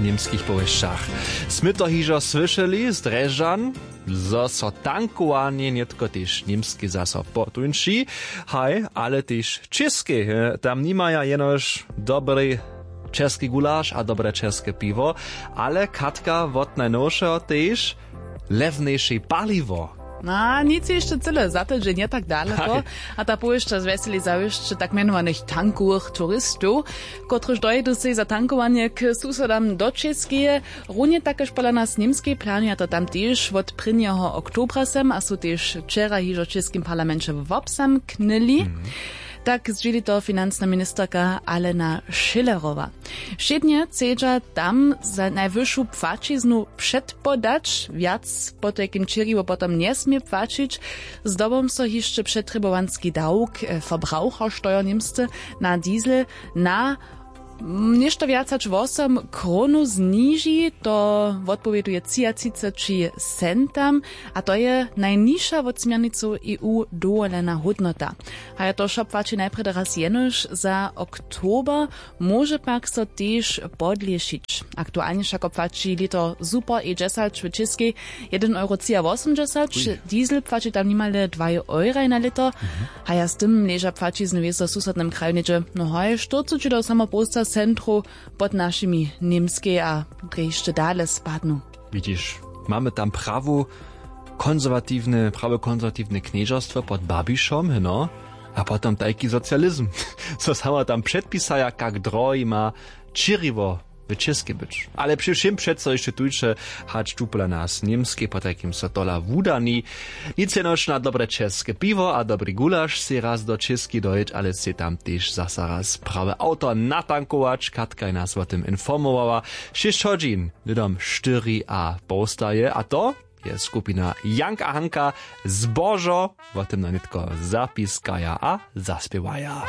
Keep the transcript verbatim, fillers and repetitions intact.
W němskich powěsćach smy to hižo słyšeli z drježdźan, zo so tankowanje nětko tež němskej zaso potuńši. Haj, ale tež w českej, tam nimaja jenož dobrej českej gulaš a dobre česke piwo, ale katka wot najnowšeho tež lewneše paliwo. A nic hišće cyle za to dźe nje tak daleko. A ta powěsća zwjeseli zawěsće tak mjenowanych tankowych turistow, kotryž dojdu sej za tankowanje k susodam do čěskeje. Runje takež pola nas němskej planuja to tam tež wot prěnjeho oktobra sem a su tež wčera hižo w českim parlamenće wobzamknyli. Tak zdźěli to financna ministerka Alena Schillerowa. Wšědnje chcedźa tam za najwyšu płaćiznu předpodać, wjac potajkim čěriwo potom njesmě płaćić. Zdobom so hišće přetrjebowanski dawk, verbrauchersteuer němsce, na diesel na něšto wjac hač wosom kronow zniži. To wotpowěduje třiatřiceći centam a to je najnižša wot směrnicow eu dowolena hódnota. Haja to wšo płaći najprjedy raz jenož za oktober, móže pak so tež podlěšić. Aktualnje wšako płaći liter super e dźesać w čěskej jedyn euro třiawosomdźesać. Diesel płaći tam nimale dwaj euraj na liter. Haja z tym leža płaćizny wězo w susodnym kraju něhdźe, no haj, štyrceći do samopołsta centrow pod našimi němskej a drje hišće dale spadnu. Widźiš, mamy tam prawu konserwatiwne prawe konserwatiwne knježerstwo pod babišom heno. A potom tajki socializm, so samo tam předpisaja kak drohi ma čěriwo w čěskej być. Ale při wšěm přeco hišće tuńše, hač tu pola nas w němskej potajkim so tola wudani. Nic jenož na dobre česke piwo a dobri gulaš sej raz do čěskej dojěć, ale sej tam tež zaso raz prawy awto natankować. Katka je nas wo tym informowała. Šěsć hodźin hnydom štyri a połsta je a to je skupina Jank a Hanka. Zbožo wo tym na nětko zapiskaja a zaspěwaja.